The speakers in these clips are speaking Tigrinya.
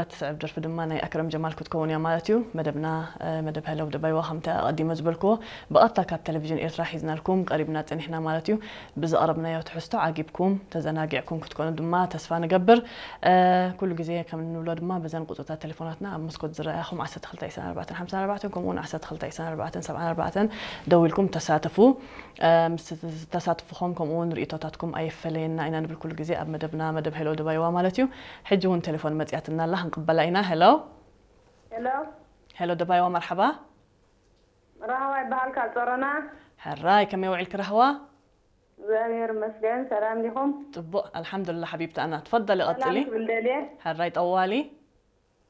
እትስዕብ ደርፊ ድማ ናይ ኣክረም ጀማል ክትከውን እያ ማለት እዩ። መደብና መደብ ሄሎ ደባይዋ ከምቲ ኣቐዲመ ዝበልክዎ ብቐጥታ ካብ ቴሌቪዥን ኤርትራ ሒዝናልኩም ቀሪብና ጸኒሕና ማለት እዩ። ብዘቕረብናዮ ትሕዝቶ ዓጊብኩም ተዘናጊዕኩም ክትኮኑ ድማ ተስፋ ንገብር። ኩሉ ግዜ ከም እንብሎ ድማ በዘን ቁጽርታት ቴሌፎናትና ኣብ መስኮት ዝረኣኹም ዓሰርተ ክልተ ዕስራን ኣርባዕተን ሓምሳን ኣርባዕተን ከምኡ እውን ዓሰርተ ክልተ ዕስራን ኣርባዕተን ሰብዓን ኣርባዕተን ደዊልኩም ተሳተፉ። ምስ ተሳትፍኹም ከምኡ እውን ርእይቶታትኩም ኣይፈለየና ኢና ንብል ኩሉ ግዜ ኣብ መደብና መደብ ሄሎ ደባይዋ ማለት እዩ። ሕጂ እውን ቴሌፎን መጽያትና ኣላ ክንቅበላ ኢና። ሄሎ። ሄሎ። ሄሎ ደባይዋ መርሓባ። ራህዋ ይበሃል ካብ ጾሮና። ሕራይ ከመይ ውዒልኪ ራህዋ? እግዚኣብሔር ይመስገን። ሰላም ዲኹም? ጽቡቕ ኣልሓምዱልላ ሓቢብቲ ኣና። ትፈደሊ ቀጽሊ። ክብል ደልየ። ሕራይ ጠዋሊ።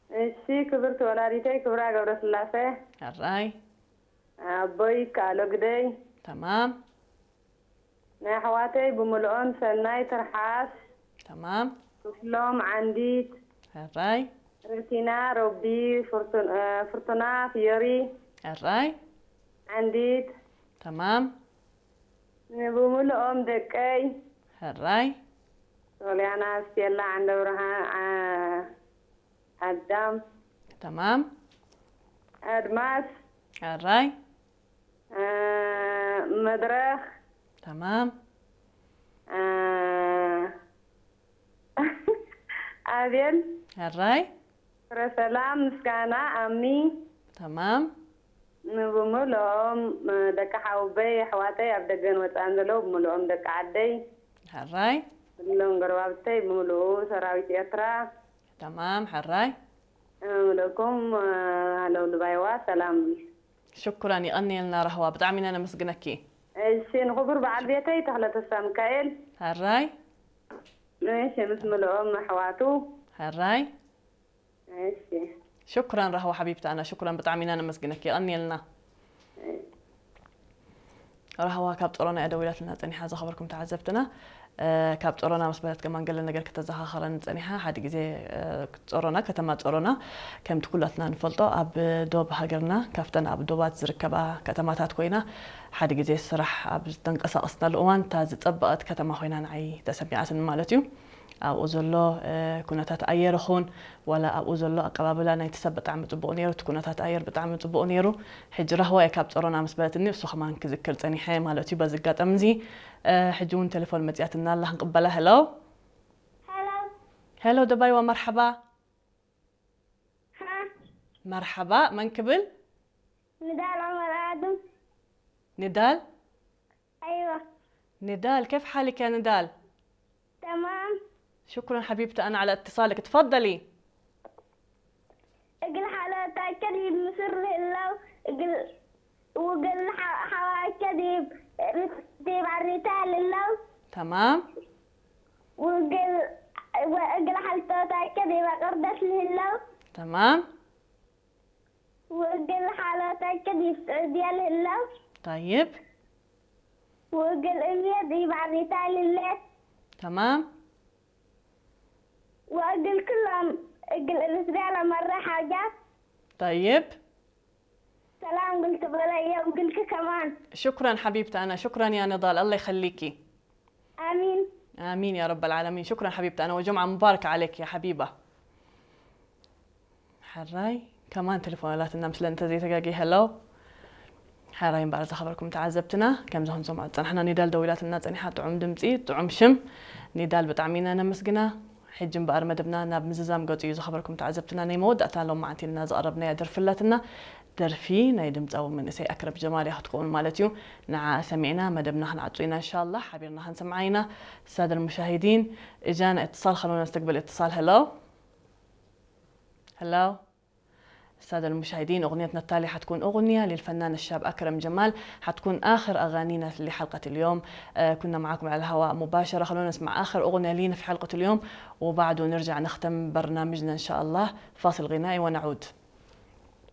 እሺ ክብርቲ ወላዲተይ ክብራ ገብረስላሴ። ሕራይ። ኣቦይ ይከኣሎ ግደይ። ተማም። ናይ ኣሕዋተይ ብምልኦም ሰናይ ትርሓስ። ተማም። ክፍሎም ዓንዲት። ሕራይ። ረቲና ሮቢ ፍርቱን- እ፣ ፍርቱና ፍዮሪ ሕራይ። ዓንዲት። ተማም። ንብምልኦም ደቀይ ሕራይ። ሶልያና ስቴላ ዓንደብርሃን ዓ- ኣዳም ተማም። ኣድማስ ሕራይ። እ፣ መድረኽ ተማም። እ፣ ኣቤል ሕራይ። ፍረሰላም ምስጋና ኣሚ ተማም። ንብምልኦም ደቂ ሓውበይ ኣሕዋተይ ኣብ ደገን ወፃእን ዘለዉ ብምልኦም ደቂ ዓደይ ሕራይ። ብሎም ጎረባብተይ ብምልኡ ሰራዊት ኤርትራ ተማም ሕራይ። ምልእኩም ሃለው ልባይዋ ሰላም። ሽኩራን ይቐንየልና ራህዋ ብጣዕሚ ኢና ነመስግነኪ። እሺ ንክቡር በዓል ቤተይ ተኽለ ተስፋ ሚካኤል ሕራይ። እሺ ምስ ምልኦም ኣሕዋቱ ሕራይ። እሺ ሽኩራን ራህዋ ሓቢብቲ ኣና ሽኩራን ብጣዕሚ ኢና ነመስግነኪ ይቐንየልና። ራህዋ ካብ ጾሮና እያ ደዊላትና ጸኒሓ ዝኸበርኩም ተዓዘብትና። ካብ ጾሮና ምስ በለት ከማን ገለ ነገር ከተዘኻኸረን ጸኒሓ ሓደ ግዜ ጾሮና ከተማ ጾሮና ከምቲ ኩላትና ንፈልጦ ኣብ ዶብ ሃገርና ካብተን ኣብ ዶባት ዝርከባ ከተማታት ኮይና ሓደ ግዜ ስራሕ ኣብ ዝተንቀሳቐስናሉ እዋን እታ ዝጸበቐት ከተማ ኮይና ንዓይ ተሰሚዓትኒ ማለት እዩ። ኣብኡ ዘሎ ኩነታት ኣየር ይኹን ዋላ ኣብኡ ዘሎ ኣቀባብላ ናይቲ ሰብ ብጣዕሚ ጽቡቕ ነይሩ፣ እቲ ኩነታት ኣየር ብጣዕሚ ጽቡቕ ነይሩ። ሕጂ ራህዋ እየ ካብ ጸሮና ምስ በለትኒ እሱ ከማን ክዝክር ጸኒሐ ማለት እዩ። በዚ ኣጋጣሚ እዚ ሕጂ እውን ቴሌፎን መጽያትና ኣላ ክንቅበላ። ሄሎ ሄሎ ሄሎ ደባይዋ መርሓባ። ሀ መርሓባ መን ክብል? ንዳል ዑመር ኣድም ንዳል أيوة نضال، كيف حالك يا نضال؟ تمام شكرا حبيبتي أنا على اتصالك، تفضلي. እግል ሓሎታ ከዲብ ምስር ህለው እግል ውግል ሓዋ ከዲብ ርስ ዲብ ኣሪታ ልለው تمام ውግል እግል ሓልቶታ ከዲብ ኣቅርደት ልህለው تمام ውግል ሓሎታ ከዲብ ስዑድያ ልህለው طيب ውግል እምየ ዲብ ኣሪታ ልለት تمام ወእግል ክሎም እግል እርትርያ ለመረ ሓጃት طيب ሰላም ግል ትበለየ ውግልክ ከማን شكرا حبيبتي أنا، شكرا يا نضال، الله يخليكي. ኣሚን آمين يا رب العالمين. شكرا حبيبتي أنا، وجمعة مباركة عليك يا حبيبة. ሕራይ ከማን ቴሌፎን ኣላትና ምስለ እንተዘይተጋጊ። ሄሎ ሕራይ እምበኣር ዝኸበርኩም ተዓዘብትና ከምዚ ክንሰምዖ ዝፀናሕና ኒዳል ደዊላትና ፀኒሓ። ጥዑም ድምፂ ጥዑም ሽም ኒዳል ብጣዕሚ ኢና ነመስግና። ሕጂ እምበኣር መደብና ናብ ምዝዛም ገፁ እዩ ዝኸበርኩም ተዓዘብትና። ናይ መወዳእታ ሎማዓንቲ ኢልና ዘቕረብናያ ደርፊ ኣላትና። ደርፊ ናይ ድምፃዊ መንእሰይ ኣክረም ጀማል እያ ክትከውን ማለት እዩ። ንዓ ሰሚዕና መደብና ክንዓፁ ኢና እንሻላ ሓቢርና ክንሰምዓ ኢና። السادة المشاهدين إجانا اتصال، خلونا نستقبل اتصال. هلو هلو السادة المشاهدين، أغنيتنا التالية حتكون أغنية للفنان الشاب أكرم جمال، حتكون آخر أغانينا لحلقة اليوم. آه كنا معاكم على الهواء مباشرة، خلونا نسمع آخر أغنية لينا في حلقة اليوم وبعده نرجع نختم برنامجنا إن شاء الله. فاصل غنائي ونعود.